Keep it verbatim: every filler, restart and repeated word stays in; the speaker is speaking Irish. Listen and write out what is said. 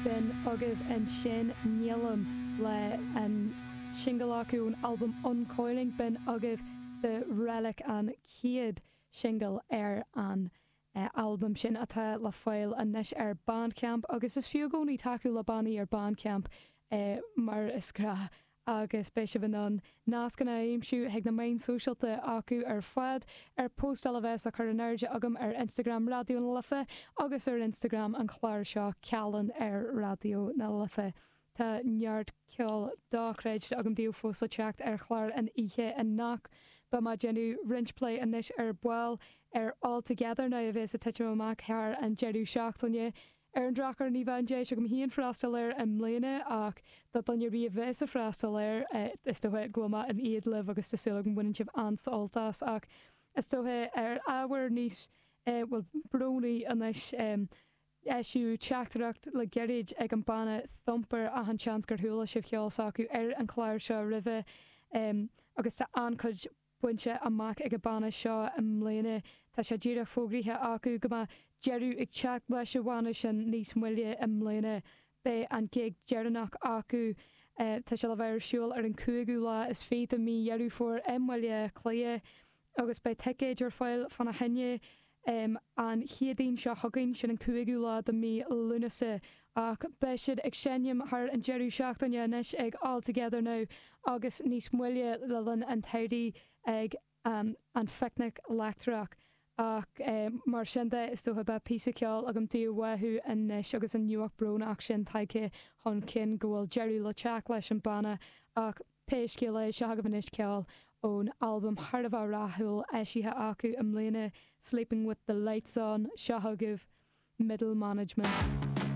B'in agaibh ansin Nílim le an singil acu ón albam Uncoiling b'in agaibh The Relic an chéad singil ar an uh, albam sin atá le fáil anois ar Bandcamp agus is fiú i gcónaí tacú le bannaí ar Bandcamp uh, mar is gnách agus beidh sibh in ann nascanna a aimsiú chuig na meáin shóisialta acu ar fad ar postáil a bheas á cur in airde agam ar Instagram Raidió na Life agus ar Instagram an chlár seo cealan ar Raidió na Life. Tá neart ceol dochreidte agam daoibh fós le teacht ar chlár an oíche anocht beidh mé ag déanamh roinnt plé anois ar ball ar All Together Now a bheas ag titim amach thar an deireadh seachtaine. Ar an drochuair ní bheidh an deis agam féin freastal air i mbliana ach do dhuine a bheas ag freastal air is dócha go bhfuil mé in éad libh agus tá súil agam go mbaineann sibh an-sult as ach is dócha ar ábhar níos bhfuil brónaí anois eisíodh teachtaireacht le gairid ag an banna Thumper achan seans gur chuala sibh ceol s'acu ar an chlár seo roimhe agus tá an-chuid bainte amach ag an banna seo i mbliana tá sé díreach fógraithe acu go mbeidh deireadh ag teacht leis an bhanna sin níos moille i mbliana beidh an gig deireanach acu tá sé le bheith ar siúl ar an cúigiú lá is fiche de mhí Dheireadh Fómhair i mBaile Átha Cliath agus beidh ticéid ar fáil fána choinne um, an Chéadaoin seo chugainn sin an cúigiú lá de mhí Lúnasa ach beidh siad ag seinm thar an deireadh seachtaine anois ag All Together Now agus níos moille le linn an tsamhraidh ag um, an Phicnic Leictreach. Ach um, mar sin de is dócha beidh píosa ceoil agam daoibh uathu anois agus an nuacht brónach sin tagtha chun cinn go bhfuil deireadh le teacht leis an banna ach pé scéal é seo agaibh anois ceol ón albam thar a bheith rathúil eisithe acu i mbliana Sleeping with the Lights On seo agaibh Middle Management.